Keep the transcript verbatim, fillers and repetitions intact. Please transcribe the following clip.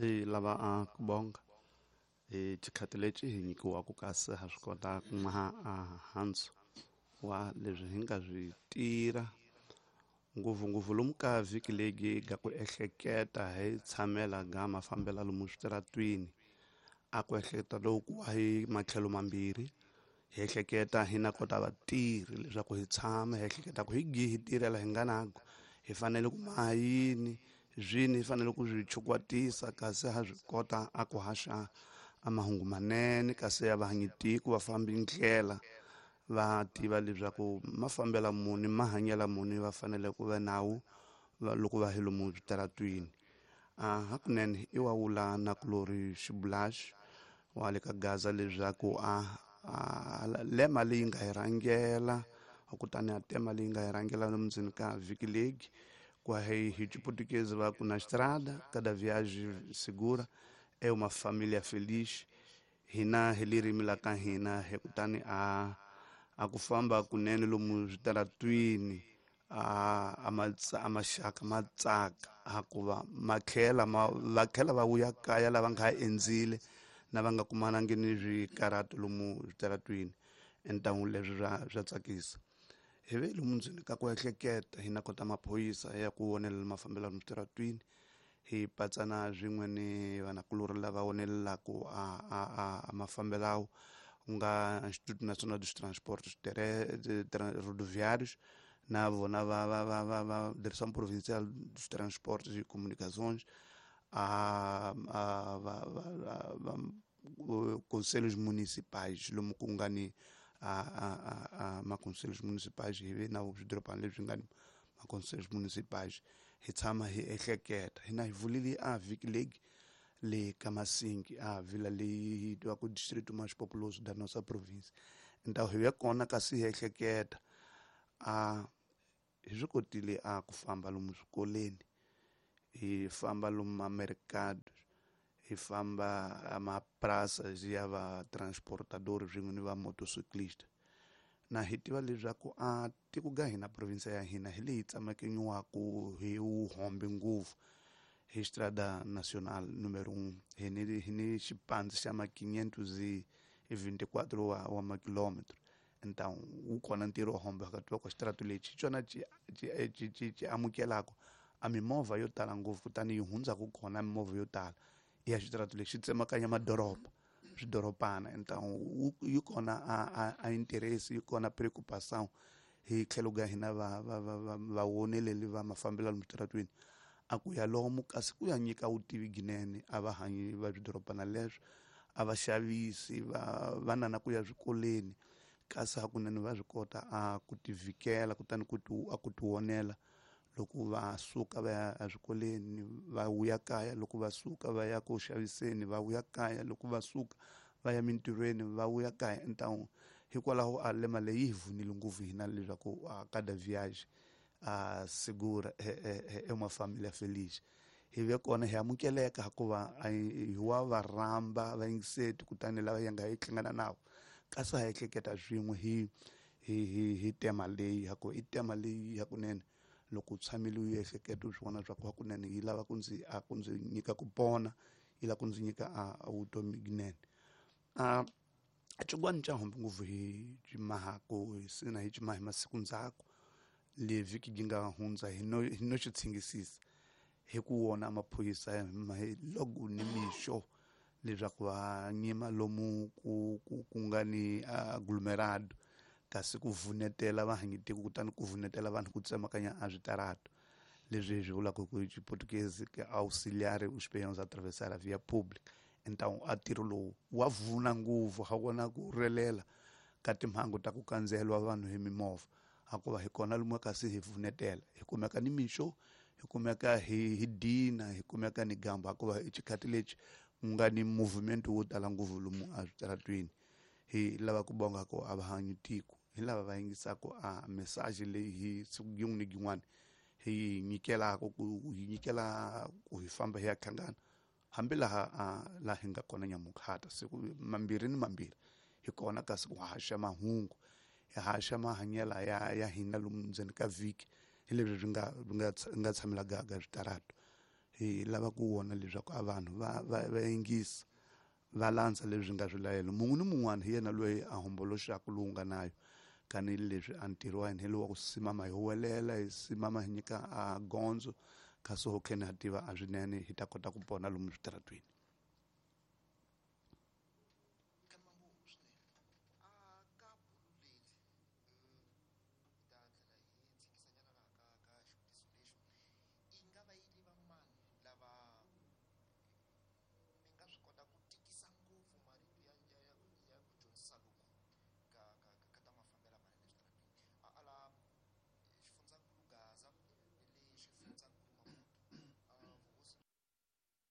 Hi lava a ku bonga hi xikhati lexi hi nyikiwaka kasi ha swi kota ku maha a hansi wa leswi hi nga swi tirha ngopfungopfu lomu ka vhiki leyi ga ku ehleketa hi tshamela ga mafambela lomu switaratwini a ku ehleketa loku hi matlhelo mambirhi hi ehleketa hi na kota vatirhi leswaku hi tshama hi ehleketa ku hi gi hi tirhela hi nga nako hi fanele ku maha yini zwini hi fanele ku swi chukwatisa kasi ha swi kota a ku haxa a mahungu manene kasi ya vahanyitiko va fambi ndlela va tiva leswaku mafambela muni mahanyela muni va fanele ku va nawu loko va hi lomu switaratwini. A hakunene i wa wula na kulori xibulaxi wa le ka Gaza leswaku a lema leyi nga hi rhangela kutani a tema leyi nga hi rhangela lomu ndzeni ka vhiki leyi kwa hi hi Xiputukezi va ku na estrada cada viagem segura é uma família feliz hina hi ririmi la ka hina hi kutani a a ku famba kunene lomu switaratwini a a a maxaka ma tsaka hikuva ma tlhela ma va tlhela va vuya kaya lava nga endzile na va nga kumanangi ni swikarato lomu switaratwini entangu leswi swa swa tsakisa. Hi ve lomu ndzeni ka ku ehleketa hi na kota maphorisa ya ku vonelela mafambelo lomu switaratwini hi patsana swin'we ni vanakulorhi lava vonelelaku a a a mafambelawo ku nga Instituto Nacional dos Transportes Rodoviários na vona va va va va va Direção Provincial dos Transportes e Comunicações a a va va va conselhos municipais lomu ku nga ni a a a ma conselhos municipais hi ve na swidorobana leswi nga ni ma conselhos municipais hi tshama hi ehleketa hina hi vulile a vhiki leyi le ka Masingi a vila leyi hi tivaku distrito mais populoso da nossa província então hi ve kona kasi hi ehleketa a hi swi kotile a ku famba lomu swikolweni hi famba lomu mamercado hi famba a mapraças ya va transportador swin'we ni va motociclista na hi tiva leswaku a tiko ga hina province ya hina hi leyi tsamekanyiwaku hi wuhombe ngopfu hi Estrada Nacional número um hi ni hi ni xipandzi xa ma quinhentos e vinte e quatro wa, wa makilômetro então wu kona ntirho wo hombe ka tiva ku xitaratu lexi hi xona xi xi xi xi amukelaka a mimovha yo tala ngopfu kutani yi hundzaka kona mimovha yo tala ya xitaratu lexi tsemakanya madoroba swidorobana então yi kona a a a interesse yi kona preocupação hi tlhelo ka hina va va va va vawoneleli va mafambelo lomu switaratwini a ku ya lomu kasi ku ya nyika vutivi ginene a va hanyi va swidorobana leswo a va xavisi va vana na ku ya swikolweni kasi hakunene va swi kota a ku tivhikela kutani ku ti a ku tivonela loko va suka va ya eswikolweni va vuya kaya loko va suka va ya ku xaviseni va vuya kaya loko va suka va ya mintirhweni va vuya kaya então hikwalaho a lema leyi hi vunile ngopfu hina leswaku a cada viagem a segura é uma família feliz hi ve kona hi amukeleka hikuva hi wa va rhamba vayingiseti kutani lava hi nga hi hlangana navo kasi ha ehleketa swin'we hi hi hi hi tema leyi hikuva i tema leyi hakunene loko u tshamile u ehleketa u swi vona swa ku hakunene yi lava ku ndzi a ku ndzi nyika ku pona yi lava ku ndzi nyika a vutomi ginene a xin'wana xa hombe ngopfu hi ximahaku hi sina hi ximaha hi masiku ndzhaku le vhiki yi nga hundza hi no hi no xi tshingisisa hi ku wona maphorisa hi loko ni mixo leswaku va nyima lomu ku ku ku nga ni aglomerado kasi ku vunetela vahanyitiko kutani ku vunetela vanhu ku tsemakanya a switaratu leswi hi swi vulaka ku Xiputukezi ke auxiliar os peões a atravessar a via pública então a ntirho lowu wa vuna ngopfu ha vona ku relela ka timhangu ta ku kandziyeliwa vanhu hi mimovha hikuva hi kona lomu kasi hi vunetela hi kumeka ni mixo hi kumeka hi hi dina hi kumeka ni gamba hikuva i xikhati lexi ku nga ni movement wo tala ngopfu lomu a switaratwini hi lava ku bonga ku a va hanyi tiko hi lava va yingisaka a message leyi hi siku yin'wana ni yin'wana hi yi nyikelaka ku hi nyikela ku hi famba hi ya hlangana hambi laha laha hi nga kona nyamukhata siku mambirhi ni mambirhi hi kona kasi ku haxa mahungu hi haxa mahanyela ya ya hina lomu ndzeni ka vhiki hi leswi swi nga nga nga tshamela gaga switaratu Hi lava ku vona leswaku a vanhu va va va yingisa, va landza leswi nga swilayelo. Mun'we ni mun'wana hi yena loyi a homboloxaka lowu nga nayo, kanileswi a ntirho wa hina hi lowu wa ku simama hi huwelela, hi simama hi nyika a gondzo, kasi ho kheni ha tiva a swinene hi ta kota ku pona lomu switaratweni.